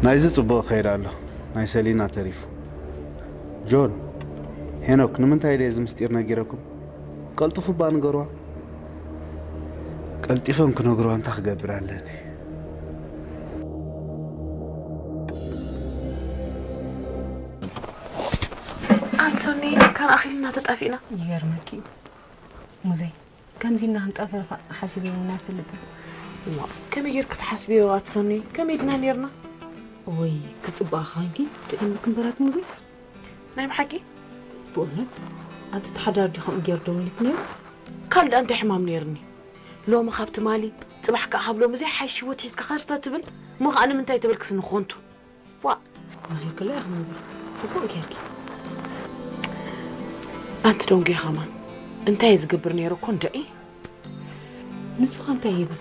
ናይዚ ጽቡቕ ይኸይድ ኣሎ፣ ናይ ሰሊና ተሪፉ። ጆን፣ ሄኖክ፣ ንምንታይ ድየ እዚ ምስጢር ነጊረኩም? ቀልጥፉ እባ ንገርዋ። ቀልጢፎም ክነግርዋ እንታይ ክገብር ኣለኒ? ኣንሶኒ፣ ካብ ኣኺልና ተጣፊእና። ይገርመኪ እዩ ሙዘይ፣ ከምዚ ኢልና ክንጠፋፋእ ሓሲበ እውን ኣይፈልጥን። እዋ፣ ከመይ ጌርኪ ትሓስብዮ ኣቲ ሰኒ? ከመይ ድና ኔርና? ወይ ክጽብቕ ኻንኪ ጥዒምኪ እምበራት ሙዘይ። ናይ ብሓቂ? ብእውነት ኣቲ ተሓዳር ዲኹም ጌር ደዊልክ ነይሩ? ካልእ እንታይ ሕማም ኔርኒ? ሎሚ ካብ ትማሊ፣ ጽባሕ ከኣ ካብ ሎሚ ዘይሓይሽ ህይወት ሒዝካ ከርተ ትብል? እሞ ከኣ ንምንታይ ተበልክስ ንኾንቱ? ዋ፣ መኺርክላ ኢኺ ሙዘ። ጽቡቕ ጌርኪ። ኣንቲ ዶንጌ ኸማን፣ እንታይ እየ ዝገብር ነይረ እኮ እንድዒ? ንሱ ኸ እንታይ ይብል?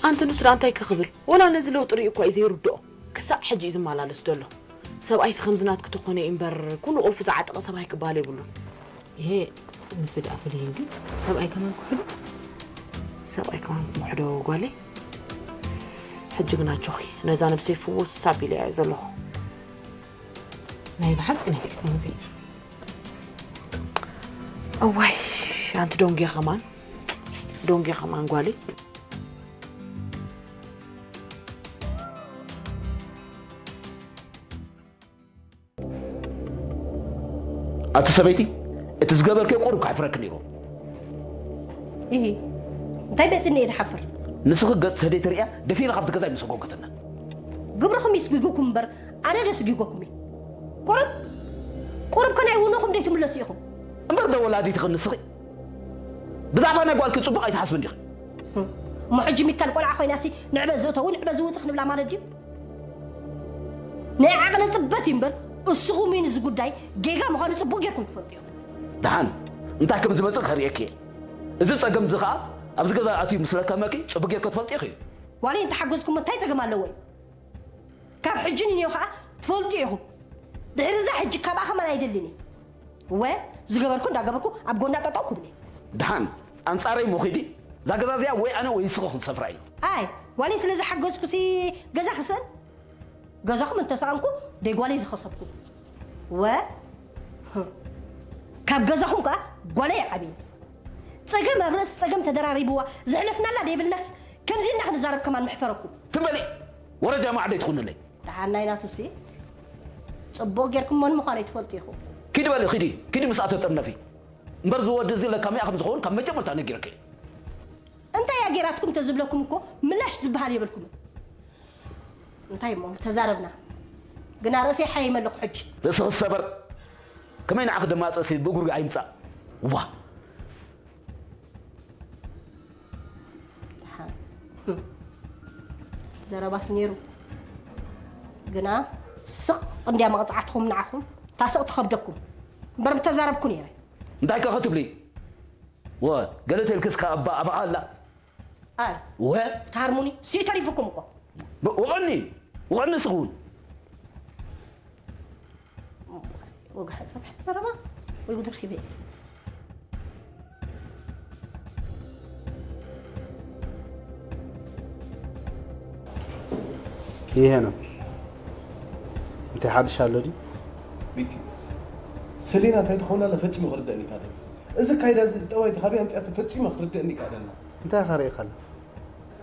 ኣንቲ ንሱ ደኣ እንታይ ክኽብል? ወላ ነዚ ለውጢ ርእዩ እኳ እዩ ዘይርድኦ። ክሳዕ ሕጂ እዩ ዝመላለስ ዘሎ። ሰብኣይሲ ከምዚ ናትኪ ተኾነ እዩ እምበር፣ ኩሉ ቁልፊ ዝዓጠቐ ሰብኣይ ክበሃል የብሉን። ይሄ ንሱ ደኣ ፍልይ እንዲ ሰብኣይ ከማን ክሕዶ? ሰብኣይ ከማን ክሕዶ ጓለይ? ሕጂ ግን ኣጆኺ፣ ነዛ ነብሰይ ፍውስ ኣቢለያ እየ ዘለኹ። ናይ ብሓቂ ናይ ሕክምና ዜና። እዋይ፣ ኣንቲ ዶንጌ ከማን፣ ዶንጌ ከማን ጓለይ። ኣቲ ሰበይቲ፣ እቲ ዝገበርክዮ ቁሩብ ከሕፍረኪ ነይሩ። ኢሂ፣ እንታይ መጺኒ እየ ድሓፍር? ንስኺ ገጽ ሰደይቲ ርእያ ደፊና ካብቲ ገዛ ኣይምሰጎገትና። ግብርኹም ይስጉጉኩም እምበር፣ ኣነ ዶ ስጊጎኩም እየ? ቁሩብ፣ ቁሩብ ከ ናይ ውኖኹም ደይትምለሱ ኢኹም? እምበር ዶ ወላዲትኺ ንስኺ? ብዛዕባ ናይ ጓልኪ ጽቡቕ ኣይትሓስብን ዲኺ? እሞ ሕጂ ሚካል ቆልዓ ኮይናሲ ንዕበ ዘእተው ንዕበ ዝውጽእ ክንብላ ማለት ድዩ? ናይ ዓቕሊ ጽበት እዩ እምበር፣ እስኹም እውን እዚ ጉዳይ ጌጋ ምዃኑ ጽቡቕ ጌርኩም ትፈልጡ ኢኹም። ደሓን፣ እንታይ ከም ዝመጽእ ከርእየኪ እየ። እዚ ጸገም እዚ ኸኣ ኣብዚ ገዛ ኣትዩ ምስ ለከመኪ ጽቡቕ ጌርኪ ትፈልጢ ኢኺ። ዋላ እንተሓገዝኩሞ እንታይ ጸገም ኣለዎ እዩ? ካብ ሕጂ ንንዮ ኸኣ ትፈልጡ ኢኹም። ድሕሪ እዛ ሕጂ ካብኣ ኸማን ኣይደልን እየ። እወ፣ ዝገበርኩ እንዳገበርኩ ኣብ ጎና ጠጠው ክብል እየ። ደሓን፣ ኣንጻረይ እሞ ኺዲ፣ እዛ ገዛ እዚኣ ወይ ኣነ ወይ ንስኺ ክንሰፍራ ኢና። ኣይ፣ ዋላ ስለ ዝሓገዝኩሲ ገዛ ክስእን? ገዛኹም እንተሰኣንኩ ደይ ጓለይ ዝኸሰብኩ። ወ፣ ካብ ገዛኹም ከኣ ጓለይ ይዓብየኒ። ጸገም ኣብ ርእሲ ጸገም ተደራሪብዋ ዘሕለፍናላ ደይብልናስ ከምዚ ኢልና ክንዛረብ ከማን ምሕፈረኩም። ትም በሊ፣ ወረጃ ማዕዶ ኣይትኹንለይ። ደሓን ናይ ናቱሲ ጽቡቕ ጌርኩም መን ምዃኑ ኣይትፈልጡ ኢኹም። ኪዲ በሊ፣ ኪዲ፣ ኪዲ ምስኣ ተጠርነፊ። እምበር እዚ ወዲ እዚ ለካሚኣ ከም ዝኸውን ካብ መጀመርታ ነጊረኪ እየ። እንታይ እያ ጌራትኩም ተዝብለኩም እኮ ምላሽ ዝበሃል የብልኩምን። እንታይ እሞ ተዛረብና። ግና ርእሰይ ሓይመ ኣለኹ ሕጂ። ርእስኺ ዝሰበር ከመይ ንዓኺ ደማፀሲ ብእግሩ ኣይምፃእ። ዋ። ደሓን። ህም። ዘረባስ ነይሩ። ግና ስቕ እንድያ መቕፃዕትኹም ንዓኹም። ታስቕ ትኸብደኩም። እምበር ምተዛረብኩ ነይረ። እንታይ ከ ክትብሊ? ወ፣ ገለ ተልክስ ከኣ እባ ኣባኻ ኣላ። ኣይ፣ ወ፣ ብትሃርሙኒ፣ ስዩ ተሪፉኩም እኮ። ብ-፣ ወቐኒ፣ ወቐኒ ስኹን። ወግሐ ጸብሐ ዘረባ፣ ወይ ጉድ ረኺበ። ይሄ ነው። እንታይ ሓድሽ ኣሎ ድዩ? ሚኪ፣ ሰሊና እንታይ ትኸውን ኣላ ፈጺሙ ክርደእኒ ይካኣለኒ። እዚ ኣካይዳ እዚ፣ እዚ ጠባይ እዚ ካበይ ኣምጺኣቶ ፈጺሙ ክርደእኒ ይካኣለኒ። እንታይ ኢኻ ርኢኻ ኣለኻ?